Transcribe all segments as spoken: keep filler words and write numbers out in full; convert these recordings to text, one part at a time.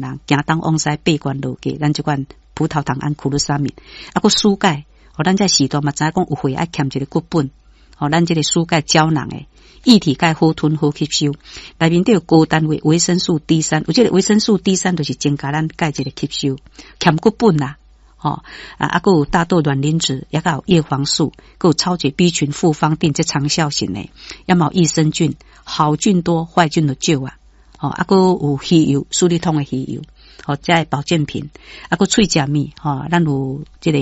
人行東往西八關落過，咱這款葡萄糖胺苦魯沙米，啊，閣舒鈣，吼，咱這時代嘛知影講有血愛欠一個骨本，吼，咱這個舒鈣膠囊的，液體鈣好吞好吸收，內面底有高單位維生素 D 三，有這個維生素 D 三就是增加咱鈣這個吸收，欠骨本啦，吼，啊，啊，閣有大豆卵磷脂，抑閣有葉黃素，閣有超級 B 群複方錠，這長效型的，抑嘛有益生菌，好菌多，壞菌就少啊。吼，啊，閣有魚油，舒利通的魚油，吼，這個保健品，啊，閣喙食物，吼，咱有這個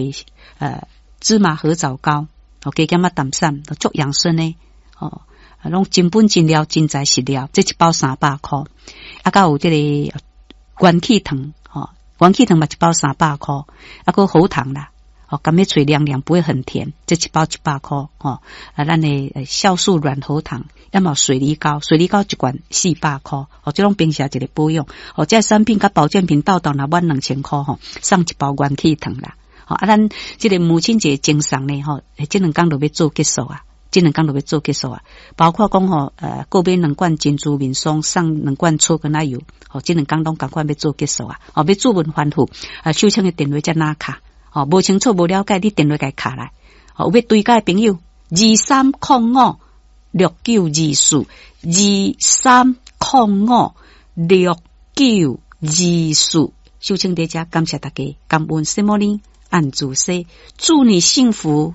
呃芝麻褐藻膏，吼，加減仔淡散，足養生的，吼，攏真本真料，真材實料，這一包三百箍，啊，閣有這個元氣糖，吼，元氣糖嘛一包三百箍，啊，閣喉糖啦。哦，甘欲喙涼涼，不會很甜。這一包一百箍，吼，啊，咱的酵素軟喉糖，抑嘛水梨膏，水梨膏一罐四百箍，哦，這攏平時一個保養。哦，這產品佮保健品鬥檔若滿兩千箍，吼，送一包元氣糖啦。吼，啊，咱這個母親節贈送呢，吼，這兩工就欲做結束啊，這兩工就欲做結束啊。包括講吼，呃，購買兩罐珍珠面霜，送兩罐草根仔油，吼，這兩工攏仝款欲做結束啊。哦，欲注文反覆，啊，秀清的電話遮哪卡？哦，無清楚、無了解，你電話共敲來。哦，有欲追加的朋友，二三空五六九二四，二三空五六九二四。秀清佇遮感謝大家，感恩什麼呢？按主說，祝你幸福。